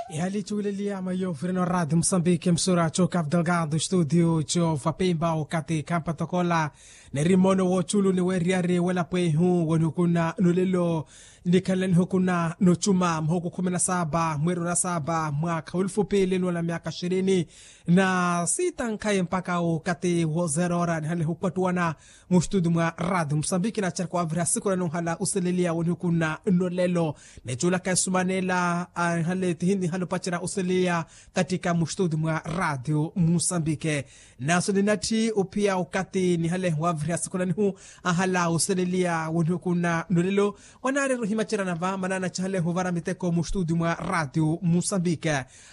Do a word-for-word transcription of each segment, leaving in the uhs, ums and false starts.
Ehali cuwileliya mayo vireno radio musambiki msura co cabo delgado studio co vapemba okati kampatokola. Neri mono woculu ni weriyari welapwehu wonihukuna nulelo. Nikhalanihu kuna nucuma muhuku khumi na saba mweru na saba mwakha welifupi lino na myaka ishirini na sita nkhaye mpaka okati wo zerora nihalehu kwattuwana. Mustudi mwa radio musambiki nacereka wavira siku nanunhala useleliya wonihukuna nolelo. Neculaka esumanela anhale tihinihale opacerya useleliya katika mustudi mwa radio musambiki. Naso ninatthi ophiya okati nihale wavira siku nanihu anhala useleliya wonihukuna nolelo. Wanaari ruhimacerana va manana cihale huvara miteko mustudi mwa radio musambiki.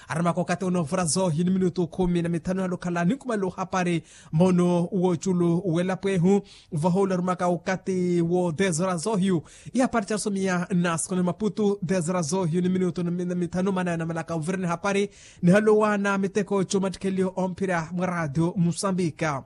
Aramaka okati ono vura zohi ni minutu khumi na mithanu halukhala ninkumalo hapari. Mono woculu welapwehu vahoula arumaka okati wo dez horas zohiyu. Ihapari carusomiya na sikoni maputu dez horas zohiyu ni minutu na mithanu manaya namalaka ovireni hapari. Nihalowana miteko comattikheliyo omphira mwa radio musambika.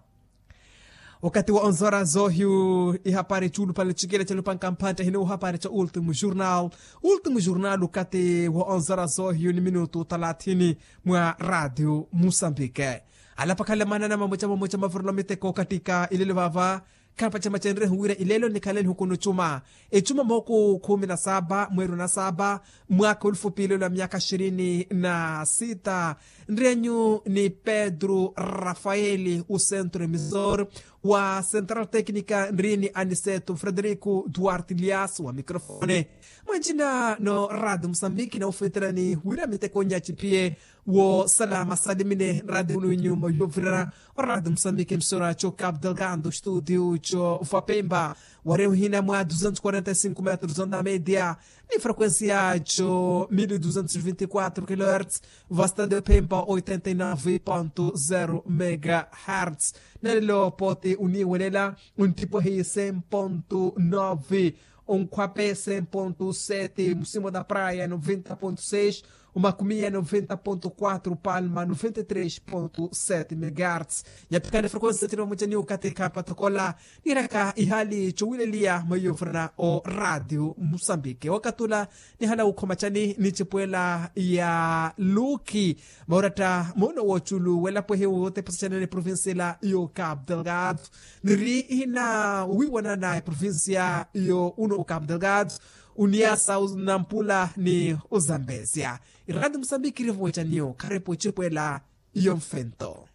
Okati wa onzora zohiyu ihapari cuulupale cikele calupanka mphantte hini uhapari ca ultimu jurnal. Ultimu jurnal okati wa onzora zohiyu ni minutu talathini mwa radio musambike. Alapakhala manana mamuca mamuca mavurelo miteko okatika ilelo vava. Khapaca macenrehu wira ilelo nikhaleni hukunu cuma ecuma moku khumi na saba mweru na saba mwaka olufupi ilelo ya myaka ishirini na sita. Nrienyu ni pedro rafaeli usentro emisor wa central tecnica nrini aniseto frederico duarte lias wa microfone. Mwanjina no radio musambiki na ufeterani wira miteko nyachipiye wo salama salimine radio unu inyuma yovirana. Orado musambiki emisora co cabo delgado studio co vapemba. Wari uhina mwa duzentos quarenta e cinco metros onda media ni frequencia co mil duzentos vinte quatro kilohertz. Vastade pemba oitenta e nove ponto zero megahertz. Nalelo poti uniwelela untipwehi cem ponto nove. Onkhwape cem ponto sete musimo da praia noventa ponto seis. Omakumiya noventa ponto quatro palma noventa e três ponto sete megahertz. Yaphikana frequency tino mucani ukati khapatokola. Niraka ihali cowileliya maiyo furana o radio musambike wakatula. Nihala ukhoma cani ni cipwela ya luki mauratta muno woculu welapwehe wotepasa canene provincia ila yo cabo delgado. Niri ihina wiwanana eprovincia yo uno o cabo delgado. Uniasa nampula ni uzambesia. Iradi musambiki irivo wecaniyo kharepo cipwela yo mfento.